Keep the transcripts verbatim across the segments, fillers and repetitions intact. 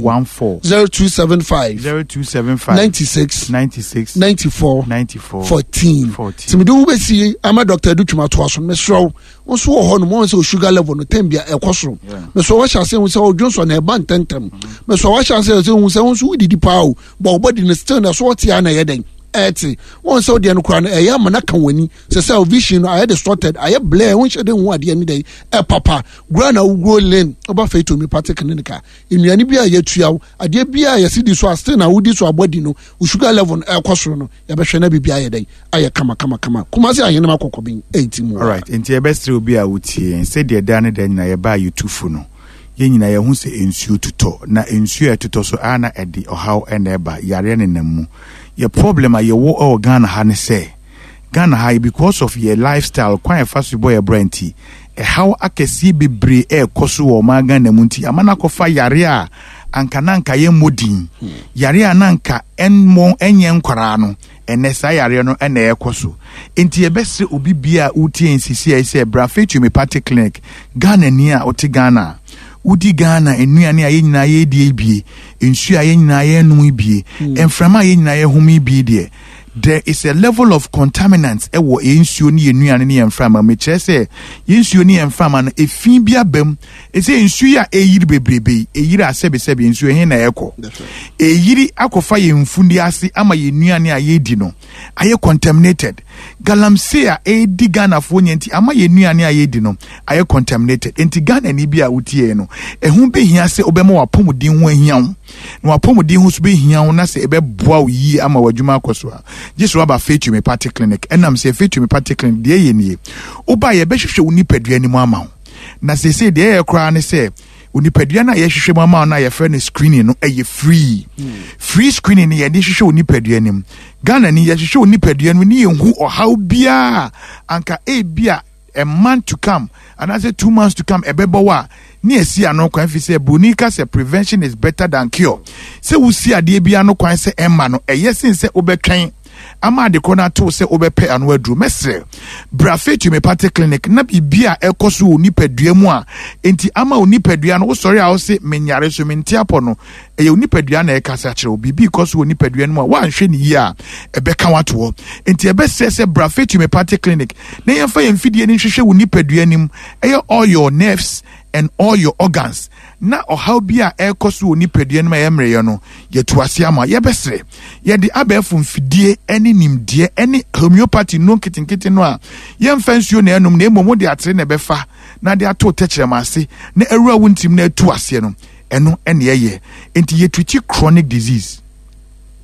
one four zero two seven five zero two seven five ninety six ninety six ninety four ninety four fourteen. fourteen. Tìmí de wo bɛsi ama Doctor Adutwum atoa so no, mesrɛ wo, wo nso wɔ hɔ no mo sɛ o sugar level no tem bia ɛkɔ soro. Mesrɛ wo, wɔhyɛ ase hu sɛ ɔdwo nsɔ na ɛba ntɛntɛm. Mesrɛ wo, wɔhyɛ ase hu sɛ wo nso wodidi paa o, bɔ wo body no still na so wɔte a na ɛyɛ dɛn ɛte wɔn sɛ wodeɛ no koraa no ɛyɛ ama no ka w'ani sɛ sɛ o vision no ayɛ distorted, ayɛ blur, wonhyɛ de hu adeɛ no dɛn ɛpapa gura na woguro lane. Woba Faith Homeopathic Clinic a, nnuane bi a yɛtua wo, adeɛ bi a yɛsi di so a still na wodi so abɔdi no, wo sugar level no ɛkɔ soro no, yɛbɛhwɛ na biribi ayɛ dɛn ayɛ kama kama kama. Kumasi Ahenema Kɔkɔbɛn ɛnti mu. Alright, nti yɛbɛsrɛ obi a wotie yɛn sɛdeɛ daa ne da nyinaa yɛbaa yɛtufo no, yɛn nyinaa yɛho sɛ nsuo tutɔ, na nsuo a ɛtotɔ so a na ɛde ɔhaw ɛna ɛba, yareɛ nenam mu. Yɛ problem a yɛwɔ ɛwɔ Ghana ha ne sɛ Ghana ha, because of yɛ lifestyle, kwan yɛfa so bɔ yɛ bra nti, ɛhaw akɛseɛ bebree ɛɛkɔ so wɔ ɔman Ghana mu, nti ama no akɔfa yare a anka na anka yɛmmɔ din, yare a na anka ɛmmɔ ɛnyɛ nkwaraa no, ɛnɛ saa yareɛ no ɛna ɛkɔ so. Nti yɛbɛsrɛ obi bia a wotie nsisi a sɛ bra Faith Homeopathic Clinic. Ghana ni a wote Ghana a wodi Ghana nnuane a yɛn nyinaa yɛdie bie, nsuo a yɛn nyinaa yɛnom bie, mframa a yɛn nyinaa yɛhome bie deɛ, there is a level of contaminants ɛwɔ yɛn nsuo ne yɛn nnuane ne yɛn mframa. Mekyerɛ sɛ yɛn nsuo ne yɛn mframa no, efi bi aba mu. Ɛsɛ nsuo yi a ɛyiri bebrebe yi, ɛyiri a sɛbesɛbe nsuo ɛhe na ɛkɔ? Ɛyiri akɔfa yɛn mfundi ase ama yɛn nnuane a yɛredi no ayɛ contaminated. Galamsey a ɛredi Ghanafoɔ nyɛ nti ama yɛn nnuane a yɛredi no ayɛ contaminated. Nti Ghana ni bi a wotie no, ɛho bɛhia sɛ wobɛma w'apɔmuden ho ahia wo, na w'apɔmuden ho so bɛhia wo na sɛ ɛbɛboa wo yie ama w'adwuma akɔ so a, gye sɛ woaba Faith Homeopathic Clinic. Ɛnam sɛ Faith Homeopathic Clinic deɛ ɛyɛ nie, woba, yɛbɛhwehwɛ wo nipadua no mu ama wo. Na seesei deɛ ɛyɛ koraa ne sɛ onipadua no a yɛhwehwɛ mu ama wo no a yɛfrɛ no screening no, ɛyɛ free. Free screening no, yɛde hwehwɛ wo nipadua no mu. Ghana ni, yɛhwehwɛ wo nipadua no mu ne yɛnhu ɔhaw biara anka ebi a a month to come anaasɛ two months to come ɛbɛbɔ wɔ a, ne yɛsi ano kwan, fi sɛ broni ka sɛ prevention is better than cure. Sɛ wosi adeɛ bi ano kwan sɛ ɛma no ɛyɛ sen sɛ wobɛtwɛn ama ade korɔ no ato sɛ wobɛpɛ ano aduro. Mɛsrɛ, bra Faith Homeopathic Clinic na biribi a ɛkɔ so wɔ nipadua mu a enti ama wo nipadua no wosɔre a wose menyare so mente apɔ no, ɛyɛ wo nipadua na ɛkasa kyerɛ wo. Biribi kɔ so wɔ nipadua no mu a woanhwɛ ne yie a, ɛbɛka wato hɔ. Enti ɛbɛsrɛ sɛ bra Faith Homeopathic Clinic na yɛmfa yɛn mfidie no nhwehwɛ wo nipadua no mu, ɛyɛ all your nerves and all your organs, na ɔhaw bi a ɛrekɔ so wɔ nipadua no mu a ɛyɛ mmerɛyɛ no, yɛtu ase ama. Yɛbɛsrɛ, yɛde abɛɛfo mfidie ne nimdeɛ ne homeopathy no nketenkete no a yɛmfa nsuo na ɛnom, na mmom wode atere na ɛbɛfa na de ato tɛkyerɛma ase na awura wo ntirim na atu aseɛ no, ɛno ɛne ɛyɛ. Nti yɛtreat chronic disease,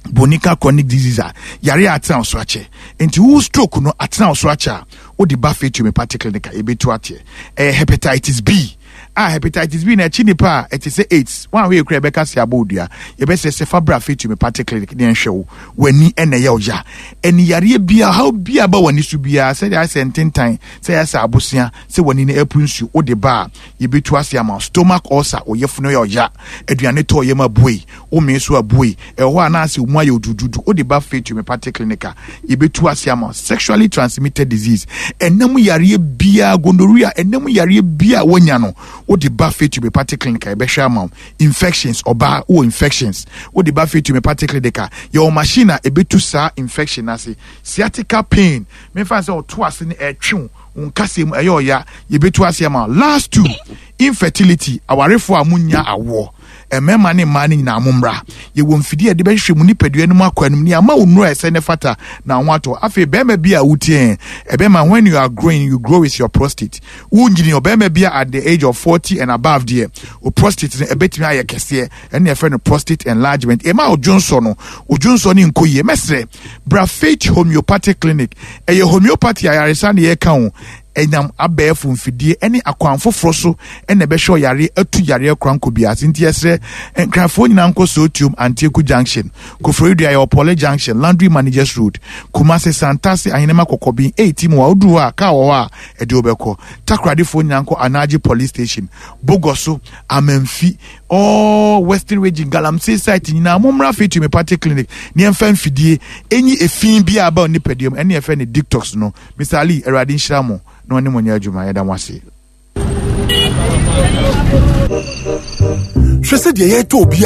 bonika chronic disease a yare a atena wo so akyɛ. Nti wo stroke no atena wo so akyɛ a, wode ba Faith Homeopathic Clinic a, yɛbɛtu ateɛ. Ɛyɛ hepatitis B a, hepatitis B na akyi nipa a ɛte sɛ AIDS, wɔn a wɔyɛ kura ɛbɛka se abɔ odua, yɛbɛsɛ sɛ fa bra Faith Homeopathic Clinic ne ɛnhwɛ wo. W'ani ɛna ɛyɛ ɔya, ɛne yareɛ bia haw bia ba w'ani so biara, sɛdeɛ ayɛ sɛ ntentan, sɛ ayɛ sɛ abosea, sɛ w'ani no ɛpu nsuo, wode ba a, yɛbɛtu ase ama wo. Stomach ulcer, ɔyɛfunu yɛ ɔya, aduane tɔ yɛm abue, womee so abue, ɛwɔ hɔ anaasɛ mu ayɛ odududu, wode ba Faith Homeopathic Clinic a, yɛbɛtu ase ama wo. Sexually transmitted disease, ɛnam yareɛ biara, gonorrhea, ɛnam yareɛ biara woanya no, wode ba Faith Homeopathic Clinic a, yɛbɛhwɛ ama wo. Infections, ɔbaa wowɔ infections, wode ba Faith Homeopathic Clinic a, yɛwɔ machine a ɛbɛtu saa infection ase. Sciatica pain, memfa sɛ ɔto ase ne ɛtwe wo nkasɛ mu ɛyɛ ɔya, yɛbɛtu ase ama wo. Last two, infertility, awarefoɔ a munya awoɔ, mmarima ne mmaa no nyinaa mo mmra. Yɛwɔ mfidie a yɛde bɛhwehwɛ mu nipadua no mu akɔ anim ne ama wo nnuro a ɛsɛ ne fata na ho atɔ. Afei bɛrima bi a wotie, ɛbɛrima, when you are growing, you grow with your prostate. Wonyini, ɔbɛrima bi a at the age of forty and above deɛ, o prostate no ɛbɛtumi ayɛ kɛseɛ, ɛne yɛfrɛ no prostate enlargement. Ɛma odwonsɔ no, odwonsɔ no nkɔ yie. Mɛsrɛ, bra Faith Homeopathic Clinic. Ɛyɛ homeopathy ayaresa ne yɛka o, ɛnam abɛɛfo mfidie ne akwan foforɔ so ɛna ɛbɛhwɛ ɔyare atu yareɛ kora nkɔ bi ase. Nti yɛsrɛ Nkrafoɔ nyinaa nkɔ Sootuom Antieku Junction, Koforidua yɛ Ɔpɔle Junction, Laundry Managers Road, Kumase Santase Ahenema Kɔkɔbin eighty mu a woduru hɔ a, kaa wɔ hɔ a ɛde wobɛkɔ. Takoradefoɔ nyinaa nkɔ Anagye Police Station, Bogoso, Amanfi, all Western Region galamsey site nyinaa, mommra Faith Homeopathic Clinic ne yɛmfa mfidie ɛnyi efi bi a aba nipadua mu, ɛne yɛfrɛ no detox no. Mister Ali, Awurade nhyira mo na ɔne mo nyɛ adwuma. Yɛda mo ase. Hwɛ sɛ deɛ yɛtɔ obi.